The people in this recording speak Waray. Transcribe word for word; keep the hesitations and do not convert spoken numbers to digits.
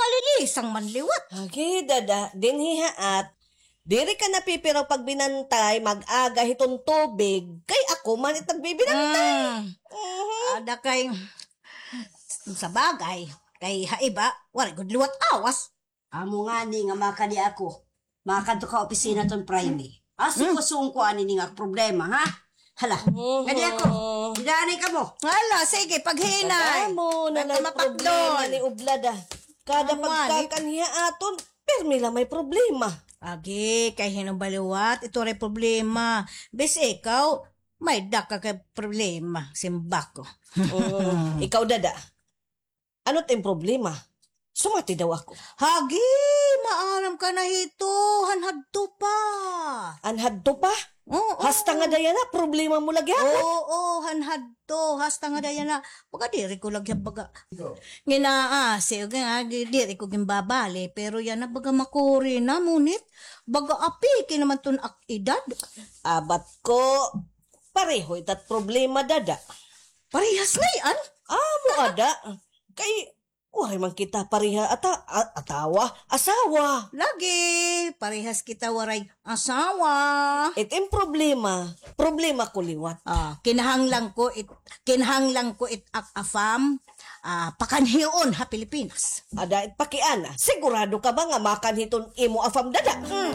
Malilisang man liwat. Agi, dada, dinhi ha at. Diri ka napipiraw pagbinantay, mag-aga hiton tubig. Kay ako man it nagbibinantay. Mm. Mhm. Ada kay, sa bagay, kay ha iba, waray gud liwat awas. Amo ngani nga makadi ako. Makadto ka opisina ton Friday. Asuko-suko ani ini nga problema, ha? Hala, kadi ako. Didani kamo. Hala, sige, paghinay. Kadamo na lay problema ni Ublada. Kada pagkakan hiya aton, pirmi la may problema. Agi, kay hin-o ba liwat, ito ray problema. Bis ikaw, may dako ka kay problema, simbako. Mm, ikaw, dada. Ano it im problema? Sumati daw ako. Hagi, maaram ka na hito, han hadto pa. Han hadto pa? Oo. Hasta ngada yana, problema mo lagi ako. Oo, han hadto, hasta ngada yana. Baga diri ko lagi baga. Nginaasi, nga, diri ko ginbabali, pero yana baga makuri na, ngunit baga apiki naman ton ak edad. Abat ko, pareho ita't problema, dada. Parehas ngay-an? Amo ada. Kay, waray man kita pareha ata-, a-, atawa, asawa. Lagi, parehas kita waray asawa. It im problema, problema ko liwat. Ah, kinahanglan ko it, kinahanglan ko it ak afam, ah, pakanhion ha Pilipinas. Ada it pakiana, sigurado ka ba nga makanhi ton imo afam, dada? Hmm.